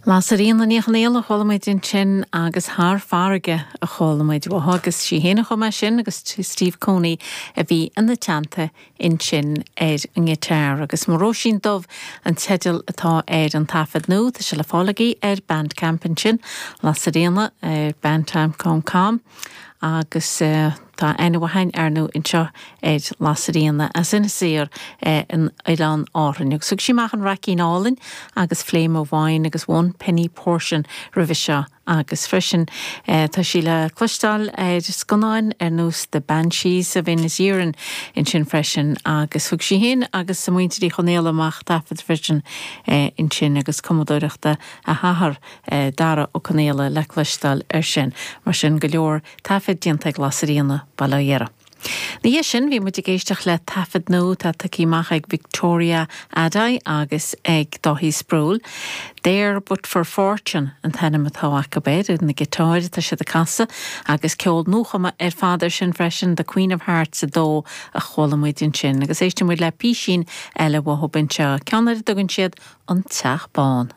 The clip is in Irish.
Lasairfhíona Ní Chonaola a chuala muid ansin agus Thar Farraige a chuala muid uaithi agus sí féin a chum é sin agus Steve Cooney a bhí ina teannta ansin ar an ngiotár. Agus Mo Róisín Dubh an teideal atá ar an taifead nua, tá sé le fáil agaibh ar Bandcamp ansin, Lasairfhíona ar bandcamp.com agus. Tá aithne mhaith againn, ar ndóigh, anseo ar Lasairfhíona as Inis Oírr in Oileáin Árann. Agus thug sí amach an Raicín Álainn agus Flame of Wine agus One Penny Portion roimhe seo agus freisin tá sí le cloisteáil ar scannáin ar nós The Banshees of Inisherin ansin freisin agus thug sí féin agus a muintir Uí Chonaola amach taifead freisin ansin agus cumadóireachta a hathar Dara Ó Conaola le cloisteáil air sin. Mar sin go leor Taifead déanta ag Lasairfhíona, Baile Átha Dheirge. Ina dhiaidh sin, bhí muid ag éisteacht le taifead nua atá tugtha amach ag Victoria Addai agus ag Dáithí Sproule. There But For Fortune an t-ainm atá acu air, ar na giotáir atá siad ag casadh, agus ceol nuachumtha ar fad air sin freisin, The Queen of Hearts 2 a chuala muid ansin. Agus éistfidh muid le písín eile uathu anseo, ceann ar a dtugann siad An Teach Bán.